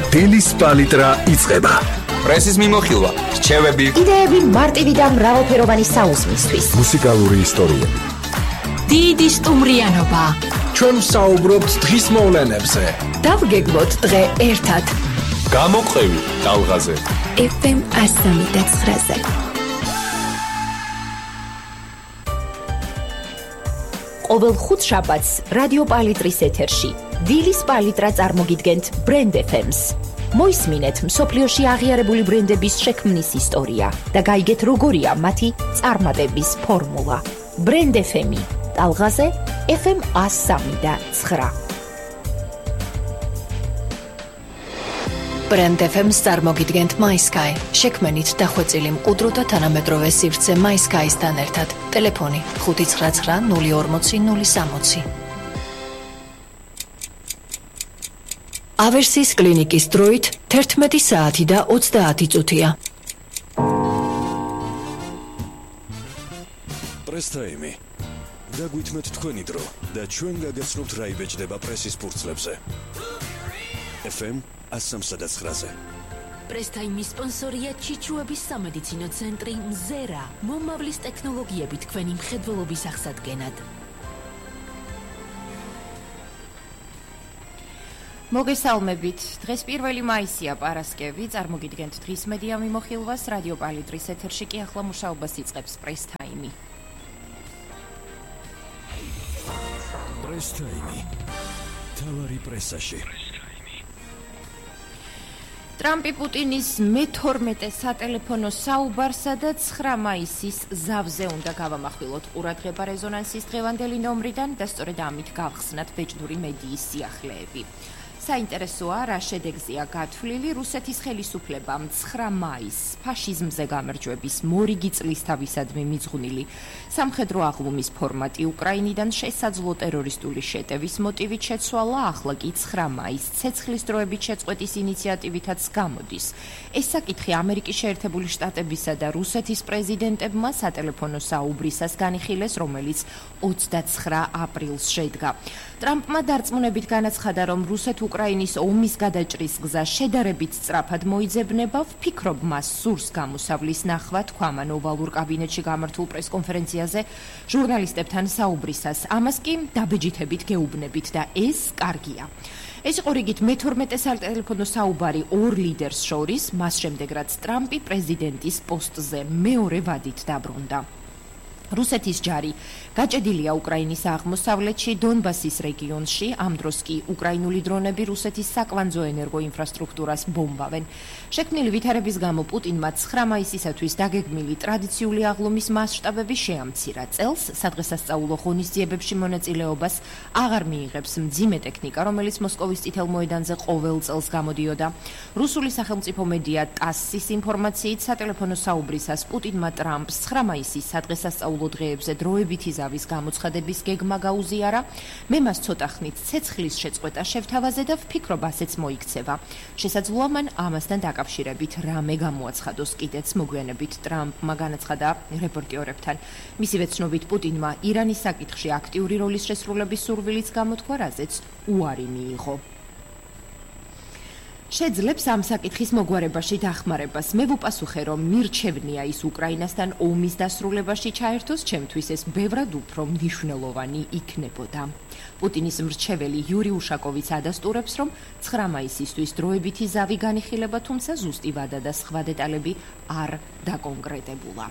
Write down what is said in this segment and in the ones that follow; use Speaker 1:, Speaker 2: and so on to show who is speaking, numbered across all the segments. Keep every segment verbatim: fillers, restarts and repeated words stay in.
Speaker 1: დილის პალიტრა იწყება.
Speaker 2: პრესის მიმოხილვა, რჩევები,
Speaker 3: იდეები მარტივი და მრავალფეროვანი საუზმისთვის.
Speaker 1: მუსიკალური ისტორიები.
Speaker 4: დიდი სტუმრიანობა.
Speaker 5: ჩვენ ვსაუბრობთ დღის მოვლენებზე.
Speaker 4: დავგეგმოთ დღე ერთად.
Speaker 1: გამოყევი ტალღაზე.
Speaker 4: ეფ ემ ასამი და ცხრაზე.
Speaker 3: ყოველ ხუთშაბათს რადიო პალიტრის ეთერში დილის პალიტრა წარმოგიდგენთ ბრენდ ეფ ემს. მოისმინეთ მსოფლიოში აღიარებული ბრენდების შექმნის ისტორია და გაიგეთ როგორია მათი წარმატების ფორმულა. ბრენდ ეფ ემი ტალღაზე ეფ ემ ასამი და ცხრა.
Speaker 4: ბრენდ ეფ ემს წარმოგიდგენთ MySky. შექმენით დახვეწილი მყუდრო და თანამედროვე სივრცე MySky-სთან ერთად. ტელეფონი ხუთი ცხრა ცხრა ნული ორმოცი ნული სამოცი. ავერსის კლინიკის დროით თერთმეტი საათი და ოცდაათი წუთია.
Speaker 6: პრესტაიმი. დაგვითმეთ თქვენი დრო და ჩვენ გაგაცნობთ რა იბეჭდება პრესის ფურცლებზე. ეფ ემ ასამსა და ცხრაზე.
Speaker 7: პრესტაიმის სპონსორია ჩიჩუების სამედიცინო ცენტრი მზერა. მომავლის ტექნოლოგიები თქვენი მხედველობის აღსადგენად.
Speaker 3: მოგესალმებით. დღეს პირველი მაისია, პარასკევი. წარმოგიდგენთ დღის მედია მიმოხილვას. რადიო პალიტრის ეთერში კი ახლა მუშაობას იწყებს პრესტაიმი.
Speaker 6: პრესტაიმი. თავარი პრესაში.
Speaker 3: ტრამპი პუტინის მეთორმეტე სატელეფონო საუბარსა და ცხრა მაისის ზავზე უნდა გავამახვილოთ ყურადღება რეზონანსის დღევანდელი ნომრიდან და სწორედ ამით გავხსნათ ბეჭდური მედიის სიახლეები. საინტერესოა, რა შედეგზეა გათვლილი რუსეთის ხელისუფლებამ ცხრა მაისს ფაშიზმზე გამარჯვების მორიგი წლისთავისადმი მიძღვნილი სამხედრო აღლუმის ფორმატი უკრაინიდან შესაძლო ტერორისტული შეტევის მოტივით შეცვალა, ახლა კი ცხრა მაისს ცეცხლის დროებით შეწყვეტის ინიციატივითაც გამოდის. ეს საკითხი ამერიკის შეერთებული შტატებისა და რუსეთის პრეზიდენტებმა სატელეფონო საუბრისას განიხილეს, რომელიც ოცდაცხრა აპრილს შედგა. ტრამპმა დარწმუნებით განაცხადა, რომ რუსეთ-უკრაინის ომის გადაჭრის გზა შედარებით სწრაფად მოიძებნება. ვფიქრობ, მას სურს გამოსავლის ნახვა, თქვა მან ოვალურ კაბინეტში გამართულ პრესკონფერენციაზე ჟურნალისტებთან საუბრისას. ამას კი დაბეჯითებით გეუბნებით და ეს კარგია. ეს იყო რიგით მეთორმეტე სატელეფონო საუბარი ორ ლიდერს შორის, მას შემდეგ რაც ტრამპი პრეზიდენტის პოსტზე მეორე ვადით დაბრუნდა. რუსეთის ჯარი გაჭედილია უკრაინის აღმოსავლეთში, დონბასის რეგიონში, ამ დროს კი უკრაინული დრონები რუსეთის საკვანძო ენერგოინფრასტრუქტურას ბომბავენ. შექმნილი ვითარების გამო პუტინმა ცხრა მაისისათვის დაგეგმილი ტრადიციული აღლუმის მასშტაბები შეამცირა. წელს სადღესასწაულო ღონისძიებებში მონაწილეობას აღარ მიიღებს მძიმე ტექნიკა, რომელიც მოსკოვის წითელ მოედანზე ყოველ წელს გამოდიოდა. რუსული სახელმწიფო მედია ტასის ინფორმაციით სატელეფონო საუბრისას პუტინმა ტრამპს ცხრა მაისის სადღესასწაულო დღეებზე დროებითი ზავის გამოცხადების გეგმა გაუზიარა. მე მას ცოტა ხნით ცეცხლის შეწყვეტა შევთავაზე და ვფიქრობ, ასეც მოიქცევა. შესაძლოა მან ამასთან დაკავშირებით რამე გამოაცხადოს კიდეც. მოგვიანებით ტრამპმა განაცხადა რეპორტერებთან. მისივე ცნობით პუტინმა ირანის საკითხში აქტიური როლის შესრულების სურვილიც გამოთქვა, რაზეც უარი მიიღო. შეძლებს ამ საკითხის მოგვარებაში დახმარებას. მე ვუპასუხე, რომ მირჩევნია ის უკრაინასთან ომის დასრულებაში ჩაერთოს, ჩემთვის ეს ბევრად უფრო მნიშვნელოვანი იქნებოდა. პუტინის მრჩეველი იური უშაკოვიც ადასტურებს, რომ ცხრა მაისისთვის დროებითი ზავი განიხილება, თუმცა ზუსტი ვადა და სხვა დეტალები არ დაკონკრეტებულა.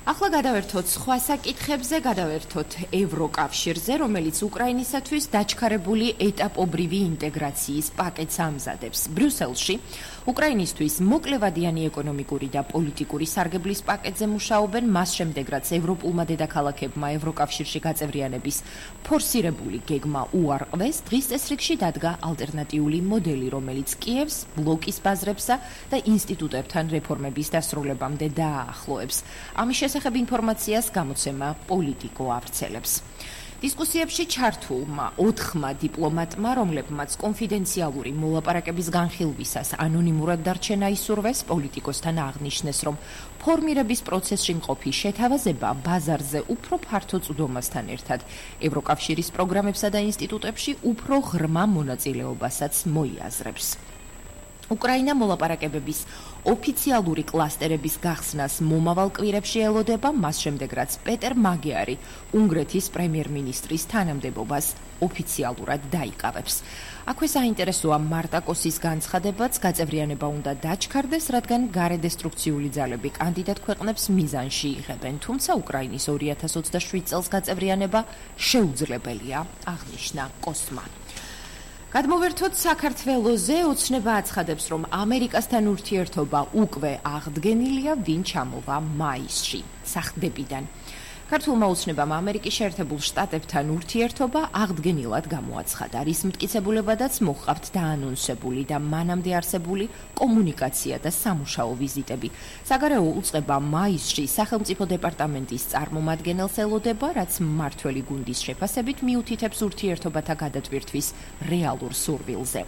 Speaker 3: ახლა გადავერთოთ სხვა საკითხებზე, გადავერთოთ ევროკავშირზე, რომელიც უკრაინისათვის დაჩქარებული ეტაპობრივი ინტეგრაციის პაკეტს ამზადებს. ბრიუსელში უკრაინისთვის მოკლევადიანი ეკონომიკური და პოლიტიკური სარგებლის პაკეტზე მუშაობენ, მას შემდეგ რაც ევროპულმა დედაქალაქებმა ევროკავშირში გაწევრიანების ფორსირებული გეგმა უარყვეს, დღის წესრიგში დადგა ალტერნატიული მოდელი, რომელიც კიევს ბლოკის ბაზრებსა და ინსტიტუტებთან რეფორმების დასრულებამდე დააახლოებს. ამის შესახებ ინფორმაციას გამოცემა პოლიტიკო ავრცელებს. დისკუსიებში ჩართულმა ოთხმა დიპლომატმა, რომლებმაც კონფიდენციალური მოლაპარაკების განხილვისას ანონიმურად დარჩენა ისურვეს, პოლიტიკოსთან აღნიშნეს, რომ ფორმირების პროცესში მყოფი შეთავაზება ბაზარზე უფრო ფართო წვდომასთან ერთად ევროკავშირის პროგრამებსა და ინსტიტუტებში უფრო ღრმა მონაწილეობასაც მოიაზრებს. უკრაინა მოლაპარაკებების ოფიციალური კლასტერების გახსნას მომავალ კვირებში ელოდება, მას შემდეგ რაც პეტერ მაგიარი უნგრეთის პრემიერ-მინისტრის თანამდებობას ოფიციალურად დაიკავებს. აქვე საინტერესოა მარტაკოსის განცხადებაც, გაწევრიანება უნდა დაჩქარდეს, რადგან გარედესტრუქციული ძალები კანდიდატ ქვეყნებს მიზანში იღებენ, თუმცა უკრაინის ორი ათას ოცდაშვიდ წელს გაწევრიანება შეუძლებელია, აღნიშნა კოსმა. გადმოვერთოთ საქართველოზე, ოცნება აცხადებს, რომ ამერიკასთან ურთიერთობა უკვე აღდგენილია, ვინ ჩამოვა მაისში, სახდებიდან. ქართულმა ოცნებამ ამერიკის შეერთებულ შტატებთან ურთიერთობა აღდგენილად გამოაცხადა. რის მტკიცებულებადაც მოჰყავთ დაანონსებული და მანამდე არსებული კომუნიკაცია და სამუშაო ვიზიტები. საგარეო უწყება მაისში სახელმწიფო დეპარტამენტის წარმომადგენელს ელოდება, რაც მმართველი გუნდის შეფასებით მიუთითებს ურთიერთობათა გადატვირთვის რეალურ სურვილზე.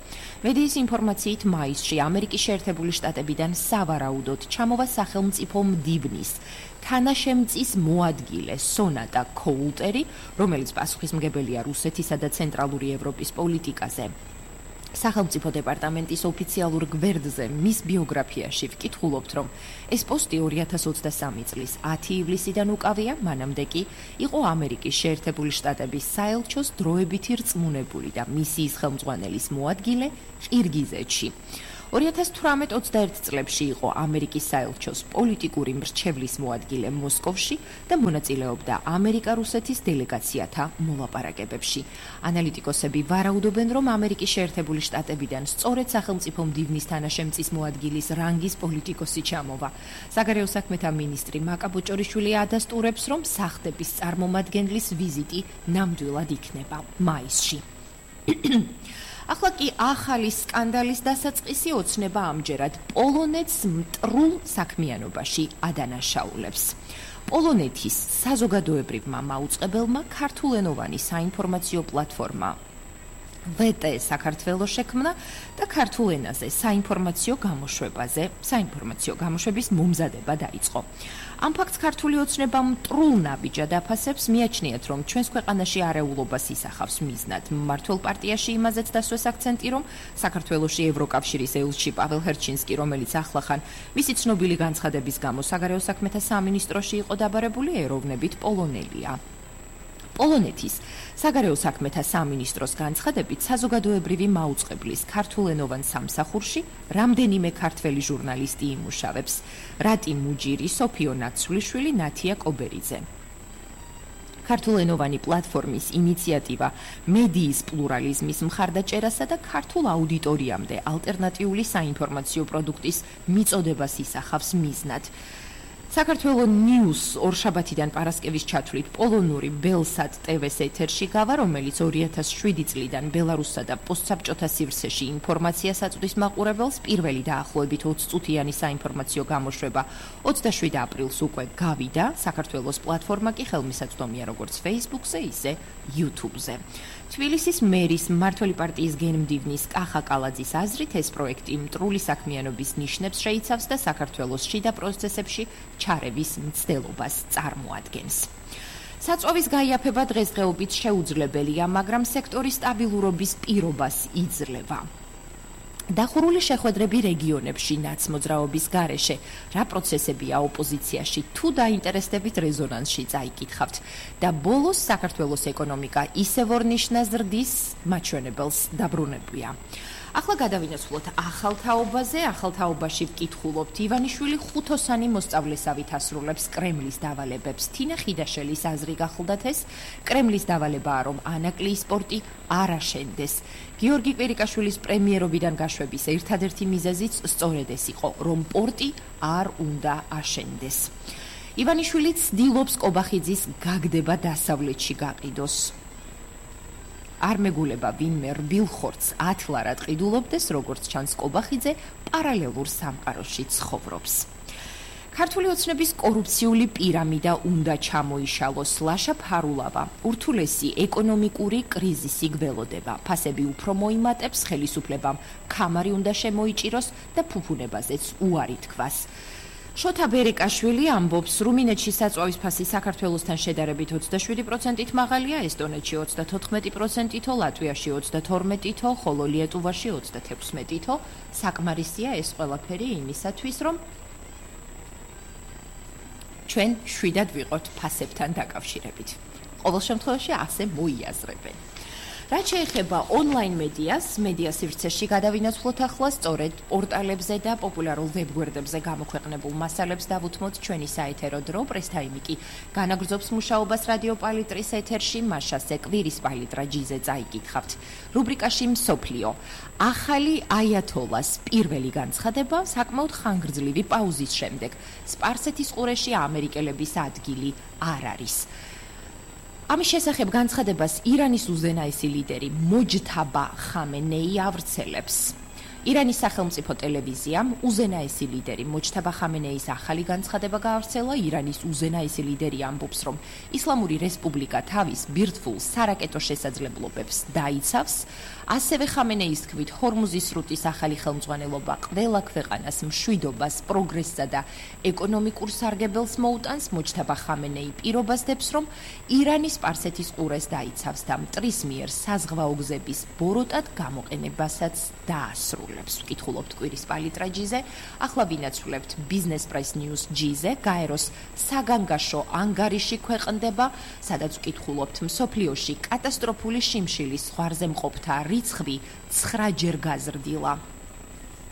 Speaker 3: მედიის ინფორმაციით მაისში ამერიკის შეერთებული შტატებიდან სავარაუდოდ ჩამოვა სახელმწიფო მდივნის თანაშემწის მოადგილე სონატა კოულტერი, რომელიც პასუხისმგებელია რუსეთისა და ცენტრალური ევროპის პოლიტიკაზე. სახელმწიფო დეპარტამენტის ოფიციალურ გვერდზე მის ბიოგრაფიაში ვკითხულობთ, რომ ეს პოსტი ორი ათას ოცდასამი წლის ათი ივლისიდან უკავია, მანამდე კი იყო ამერიკის შეერთებული შტატების საელჩოს დროებითი რწმუნებული და მისიის ხელმძღვანელის მოადგილე ყირგიზეთში. ორი ათას თვრამეტ ოცდაერთ წლებში იყო ამერიკის საელჩოს პოლიტიკური მრჩევლის მოადგილე მოსკოვში და მონაწილეობდა ამერიკა-რუსეთის დელეგაციათა მოლაპარაკებებში. ანალიტიკოსები ვარაუდობენ, რომ ამერიკის შეერთებული შტატებიდან სწორედ სახელმწიფო მდივნის თანაშემწის მოადგილის რანგის პოლიტიკოსი ჩამოვა. საგარეო საქმეთა მინისტრი მაკა ბოჭორიშვილი ადასტურებს, რომ სახდების წარმომადგენლის ვიზიტი ნამდვილად იქნება მაისში. ახლა კი ახალი სკანდალის დასაწყისი ოცნება ამჯერად პოლონეთს მტრულ საქმიანობაში ადანაშაულებს. პოლონეთის საზოგადოებრივმა მაუწყებელმა ქართულენოვანი საინფორმაციო პლატფორმა ვეტე საქართველოს შექმნა და ქართულ ენაზე საინფორმაციო გამოშვებაზე, საინფორმაციო გამოშვების მომზადება დაიწყო. ამ ფაქტს ქართული ოცნება მტრულ ნაბიჯად აფასებს, მიაჩნიათ, რომ ჩვენს ქვეყანაში არეულობას ისახავს მიზნად. მმართველ პარტიაში იმაზეც დასვეს აქცენტი, რომ საქართველოში ევროკავშირის ელჩი პაվել ჰერჩინსკი, რომელიც ახლახან მისი ცნობილი განცხადების გამო საგარეო საქმეთა სამინისტროში იყო დაბარებული, ეროვნებით პოლონელია. პოლონეთის საგარეო საქმეთა სამინისტროს განცხადებით, საზოგადოებრივი მაუწყებლის ქართულენოვან სამსახურში რამდენიმე ქართველი ჟურნალისტი იმუშავებს: რატი მუჯირი, სოფიო ნაცვლიშვილი, ნათია კობერიძე. ქართულენოვანი პლატფორმის ინიციატივა მედიის პლურალიზმის მხარდაჭერასა და ქართულ აუდიტორიამდე ალტერნატიული საინფორმაციო პროდუქტის მიწოდებას ისახავს მიზნად. საქართველოს ნიუს ორშაბათიდან პარასკევის ჩათვლით პოლონური ბელსატ ტევეს ეთერში გავა, რომელიც ორი ათას შვიდი წლიდან ბელარუსსა და პოსტსაბჭოთა სივრცეში ინფორმაციას აწვდის მაყურებელს. პირველი დაახლოებით ოცი წუთიანი საინფორმაციო გამოშვება ოცდაშვიდ აპრილს უკვე გავიდა. საქართველოს პლატფორმა კი ხელმისაწვდომია როგორც Facebook-ზე, ისე YouTube-ზე. თბილისის მერის მმართველი პარტიის გენმდივნის კახა კალაძის აზრით, ეს პროექტი მტრული საქმიანობის ნიშნებს შეიცავს და საქართველოს შიდა პროცესებში ჩარევის მცდელობას წარმოადგენს. საწვავის გაიაფება დღესდღეობით შეუძლებელია, მაგრამ სექტორის სტაბილურობის პირობას იძლევა. დახურული შეხვედრები რეგიონებში ნაცმოძრაობის გარეშე, რა პროცესებია ოპოზიციაში, თუ დაინტერესდებით რეზონანსში წაიკითხავთ და ბოლოს საქართველოს ეკონომიკა ისევ ორ-ნიშნას ზრდის მაჩვენებელს დაბრუნებია. ახლა გადავინაცვლოთ ახალ თაობაზე. ახალ თაობაში ვკითხულობთ, ივანიშვილი ხუთოსანი მოსწავლესავით ასრულებს კრემლის დავალებებს. თინა ხიდაშელის აზრი გახლდათ ეს, კრემლის დავალებაა, რომ ანაკლიის პორტი არ აშენდეს. გიორგი კვირიკაშვილის პრემიერობიდან გაშვების ერთადერთი მიზეზიც სწორედ ეს იყო, რომ პორტი არ უნდა აშენდეს. ივანიშვილი ცდილობს კობახიძის გაგდება დასავლეთში გაყიდოს. არ მეგულება ვინმე რბილ ხორცს ათლარად ყიდულობდეს, როგორც ჩანს კობახიძე პარალელურ სამყაროში ცხოვრობს. ქართული ოცნების კორუფციული პირამიდა უნდა ჩამოიშალოს. ლაშა ფარულავა, ურთულესი ეკონომიკური კრიზისი გველოდება. ფასები უფრო მოიმატებს, ხელისუფლებამ ქამარი უნდა შემოიჭიროს და ფუფუნებაზეც უარი თქვას. შოთა ბერეკაშვილი ამბობს, რუმინეთში საწვავის ფასი საქართველოსთან შედარებით ოცდაშვიდი პროცენტით მაღალია, ესტონეთში ოცდათოთხმეტი პროცენტითო, ლატვიაში ოცდათორმეტითო, ხოლო ლიეტუვაში ოცდათექვსმეტითო. საკმარისია ეს ყველაფერი იმისათვის, რომ ჩვენ შვიდად ვიყოთ ფასებთან დაკავშირებით. ყოველ შემთხვევაში ასე მოიაზრებენ. რაც შეეხება ონლაინ მედიას, მედია სივრცეში გადავინაცვლოთ ახლა სწორედ პორტალებზე და პოპულარულ ვებგვერდებზე გამოქვეყნებულ მასალებს დავუთმოთ ჩვენი საეთერო დრო. პრესტაიმი კი განაგრძობს მუშაობას რადიო პალიტრის ეთერში, მაშასე კვირის პალიტრა ჯიზე წაიკითხავთ. რუბრიკაში მსოფლიო. ახალი აიათოლას პირველი განცხადება საკმაოდ ხანგრძლივი პაუზის შემდეგ. სპარსეთის ყურეში ამერიკელების ადგილი არ არის. ამის შესახებ განცხადებას ირანის უზენაესი ლიდერი მოჯთაბა ხამენეი ავრცელებს. ირანის სახელმწიფო ტელევიზიამ უზენაესი ლიდერი მოჯთაბა ხამენეის ახალი განცხადება გაავრცელა. ირანის უზენაესი ლიდერი ამბობს, რომ ისლამური რესპუბლიკა თავის ბირთვულ სარაკეტო შესაძლებლობებს დაიცავს. ასევე ხამენეის თქმით, ჰორმუზის სრუტის ახალი ხელმძღვანელობა ყველა ქვეყანას მშვიდობას, პროგრესსა და ეკონომიკურ სარგებელს მოუტანს. მოჯთაბა ხამენეი პირობას დებს, რომ ირანის სპარსეთის ყურეს დაიცავს და მტრის მიერ საზღვაო გზების ბოროტად გამოყენებასაც დაასრულებს. ვკითხულობთ კვირის პალიტრა ჯიზე, ახლა ვინაცვლებთ Business Press News ჯიზე, გაეროს საგანგაშო ანგარიში ქვეყნდება, სადაც ვკითხულობთ მსოფლიოში კატასტროფული შიმშილის ზღვარზე მყოფთა რიცხვი ცხრაჯერ გაზრდილა.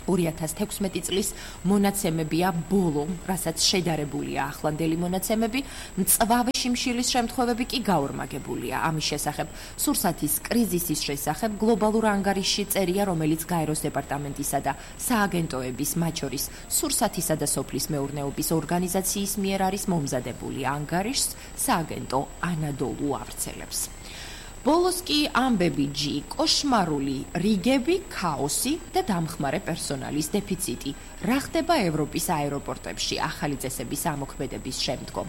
Speaker 3: ორი ათას თექვსმეტი წლის მონაცემებია ბოლო, რასაც შედარებულია ახლანდელი მონაცემები, მწვავე შიმშილის შემთხვევები კი გაორმაგებულია. ამის შესახებ სურსათის კრიზისის შესახებ გლობალურ ანგარიშში წერია, რომელიც გაეროს დეპარტამენტისა და სააგენტოების, მათ შორის სურსათისა და სოფლის მეურნეობის ორგანიზაციის მიერ არის მომზადებული. ანგარიშს სააგენტო ანადოლუ ავრცელებს. ბოლოს კი ამბები ჯი, კოშმარული რიგები, ქაოსი და დამხმარე პერსონალის დეფიციტი. რა ხდება ევროპის აეროპორტებში ახალი წესების ამოქმედების შემდგომ?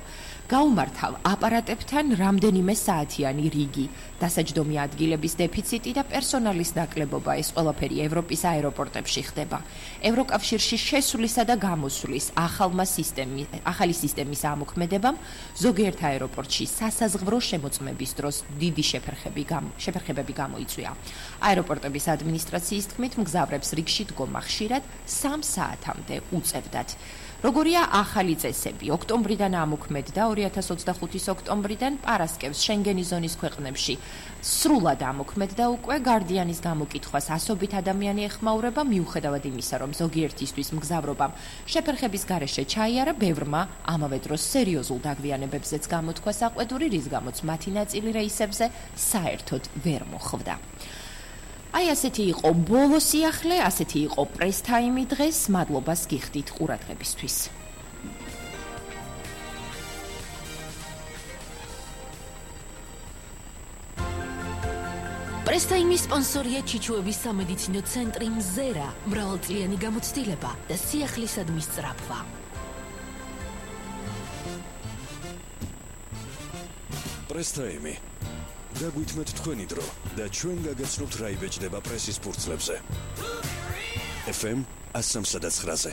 Speaker 3: გაუმართავ აპარატებთან რამდენიმე საათიანი რიგი, დასაჯდომი ადგილების დეფიციტი და პერსონალის ნაკლებობა, ეს ყველაფერი ევროპის აეროპორტებში ხდება. ევროკავშირში შესვლისა და გამოსვლის ახალმა სისტემი, ახალი სისტემის ამოქმედებამ ზოგიერთ აეროპორტში სასაზღვრო შემოწმების დროს დიდი შეფერხები გამ, შეფერხებები გამოიწვია. აეროპორტების ადმინისტრაციის თქმით, მგზავრებს რიგში დგომა ხშირად სამ საათამდე უწევდათ. როგორია ახალი წესები? ოქტომბრიდან ამოქმედდა, ორი ათას ოცდახუთის ოქტომბრიდან პარასკევს შენგენის ზონის ქვეყნებში სრულად ამოქმედდა უკვე. გარდიანის გამოკითხვას ასობით ადამიანი ეხმაურება, მიუხედავად იმისა, რომ ზოგიერთისთვის მგზავრობამ შეფერხების გარეშე ჩაიარა, ბევრმა ამავე დროს სერიოზულ დაგვიანებებზეც გამოთქვა საყვედური, რის გამოც მათი ნაწილი რეისებზე საერთოდ ვერ მოხვდა. აი ასეთი იყო ბოლო სიახლე, ასეთი იყო პრესტაიმი დღეს. მადლობას გიხდით ყურადღებისთვის.
Speaker 7: პრესტაიმის სპონსორია ჩიჩუების სამედიცინო ცენტრი მზერა, მრავალწლიანი გამოცდილება და სიახლისადმი სწრაფვა.
Speaker 6: პრესტაიმი დაგვითმეთ თქვენი დრო და ჩვენ გაგაცნობთ რა იბეჭდება პრესის ფურცლებზე. ეფ ემ one oh three point nine-ზე.